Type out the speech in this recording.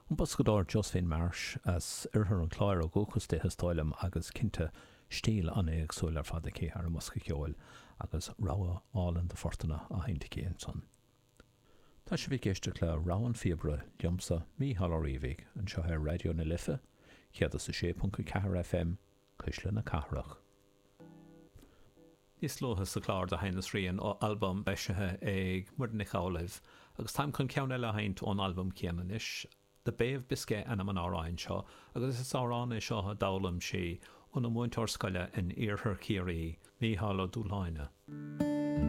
An boscadóir Josephine Marsh as oirthear an Chláir ó dhúchas di is dóigh liom agus cinnte stíl an-éagsúil ar fad aici ar an mbosca ceoil agus rogha álainn de phortanna á sheinnt aici ansan. Tá sibh ag éisteacht le Rogha an Phíobaire liomsa, Mícheál Ó Riabhaigh, anseo ar Raidió na Life, 106.4 FM, Cuisle na Cathrach. Níos luaithe sa chlár do sheinneas rian ó albam eisithe ag Muireann Nic Amhlaoibh agus táim chun ceann eile a sheinnt ón albam céanna anois. The Bay of Biscay ainm an amhráin seo agus is amhrán é seo a d'fhoghlaim sí óna múinteoir scoile in iarthar Chiarraí, Mícheál Ó Dúshláine.